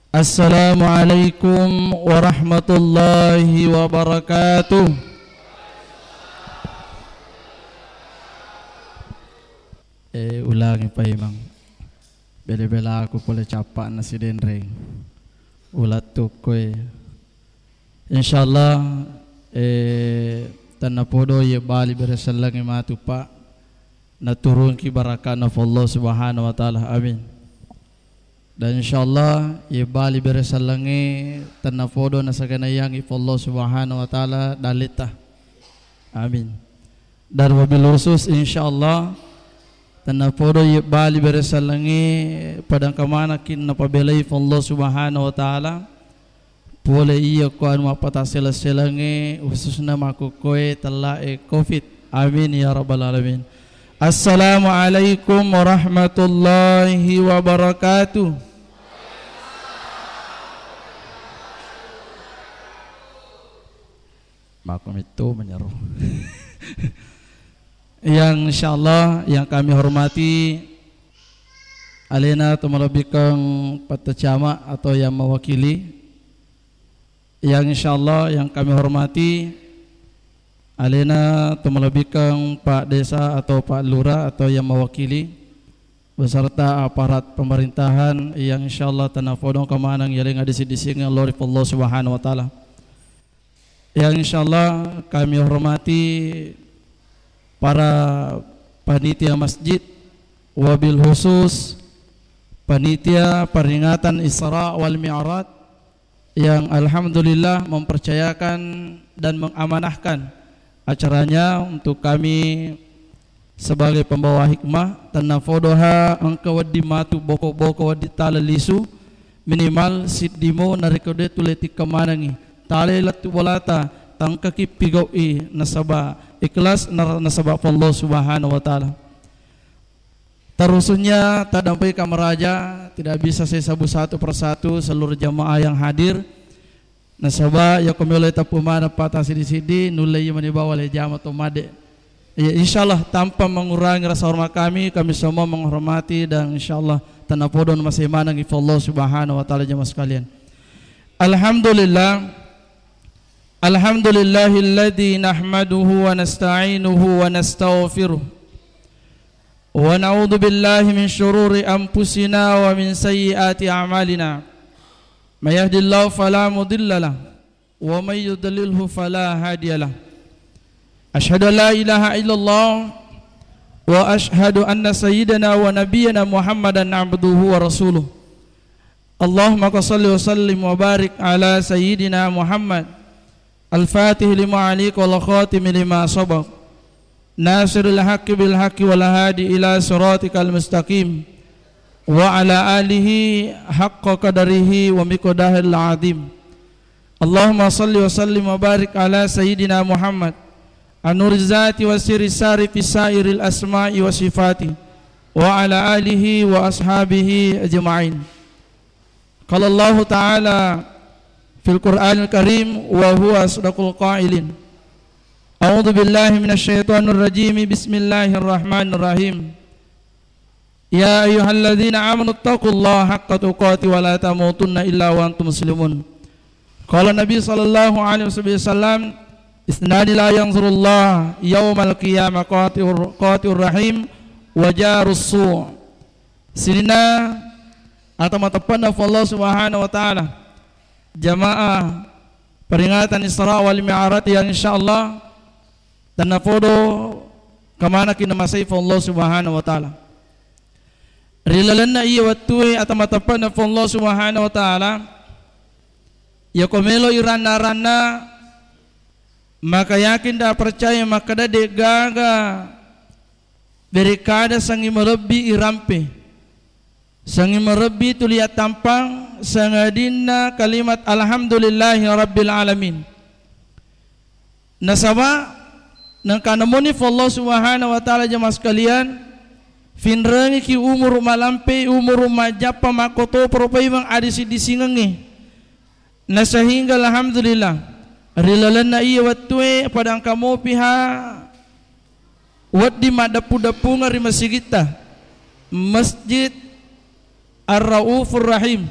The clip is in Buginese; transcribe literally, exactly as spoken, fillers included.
Assalamualaikum warahmatullahi wabarakatuh. Eh, ulangi paimeng. Bela-bela aku pole cappa'na sidenreng. Ulattukkoe. Insyaallah, eh, tennapodo iye bali beresellengnge matu, Pak. Naturungki barakana Allah Subhanahu wa Ta'ala. Amin. Dan insyaallah, iye bali beresellengnge tennapodo nasaganaiyangngi Allah Subhanahu wa Ta'ala daletta. Amin. Dan wabil khusus, insyaallah, tennapodo iye bali beresellengnge padangka manakki napabelai Allah Subhanahu wa Ta'ala. Pole iya ko anu mappatassela-selangnge, khususna makkukkoe tellae covid. Amin ya rabbal alamin. Assalamualaikum warahmatullahi wabarakatuh. Makkumittu menyero. Yang insyaallah yang kami hormati alena to malebbikeng Pak Camat atau yang mewakili. Yang insyaallah yang kami hormati alena to malebbikeng Pak Desa atau Pak Lurah atau yang mewakili beserta aparat pemerintahan yang insyaallah tennapodo engka maneng yaleng adisi-disingeng lao ri Allah Subhanahu wa Ta'ala. Yang insyaallah kami hormati para panitia masjid, wabil khusus panitia peringatan Isra wal Mi'raj yang alhamdulillah mempercayakan dan mengamanahkan acaranya untuk kami sebagai pembawa hikmah, tennapodoha engka wedding matu boko-boko wedding tala lisu, minimal siddimo narekko de tu lettikka manengngi. Tale lettu bolata, tangkaki pigau'i nasaba ikhlas nar-, nasaba Allah Subhanahu wa Ta'ala. Terusnya tadampai kamaraja, tidak bisa saya sebut satu persatu seluruh jamaah yang hadir. Nasaba yako melo tappu maneng pata sidi-sidi nulle iya mani bawa le jama to made. Ya insyaallah tanpa mengurangi rasa hormat kami, kami semua menghormati dan insyaallah tennapodo masih maneng ifa Allah Subhanahu wa Ta'ala jamaah sekalian. Alhamdulillah. Alhamdulillahilladzi nahmaduhu wa nasta'inuhu wa nastaghfiruh. Wa na'udzu billahi min syururi anfusina wa min sayyiati a'malina. May yahdihillahu fala mudilla lah, wa may yudlilhu fala hadiya lah. Asyhadu an la ilaha illallah wa asyhadu anna sayyidana wa nabiyyana Muhammadan abduhu wa rasuluh. Allahumma salli wa sallim wa barik ala sayyidina Muhammad, al-fatih lima ughliq wal khatim lima sabaq, nasiril haqqi bil haqqi wal hadi ila siratikal mustaqim, wa ala alihi haqqa qadarihi wa miqdarihil azim. Allahumma salli wa sallim wa barik ala sayyidina Muhammad, anuriz zati wa sirri sari fi sairil asma'i wa sifati, wa ala alihi wa ashabihi ajma'in. Qala Allahu ta'ala fil Qur'anil Karim wa huwa asdaqul qailin. A'udzu billahi minasy syaithanir rajim. Bismillahirrahmanirrahim. Ya ayyuhalladzina amanu taqullaha haqqa tuqatih wa la tamutunna illa wa antum muslimun. Qala Nabi sallallahu alaihi wasallam, "Isnani la yanzurullah yaumal qiyamah qati'ur, qati'ur rahim wa jarus su'." Sininna atau mateppanna Allah Subhanahu wa Ta'ala. Jamaah peringatan Isra wal Mi'raj yang insyaallah tennapodo kamanaki namasei Allah Subhanahu wa Ta'ala. Ri lalenna iya wettue atau mateppanna Allah Subhanahu wa Ta'ala, yako melo iranna-ranna, maka yakin da percaya makkeda de gaga berekada sangi malebbi irampe. Sangi marebbi tuli attampang sangadinna kalimat alhamdulillahi rabbil alamin. Nasaba nengka namoni Allah Subhanahu wa Ta'ala jamaah sekalian, finrengiki umuru malampe, umuru majappa makkotoparo paimeng adisi-disingengnge. Na sehingga alhamdulillah ri lalenna iya wettue padangka mopiha wedding maddeppu-deppungeng ri masigitta, Masjid Ar-Raufur Rahim.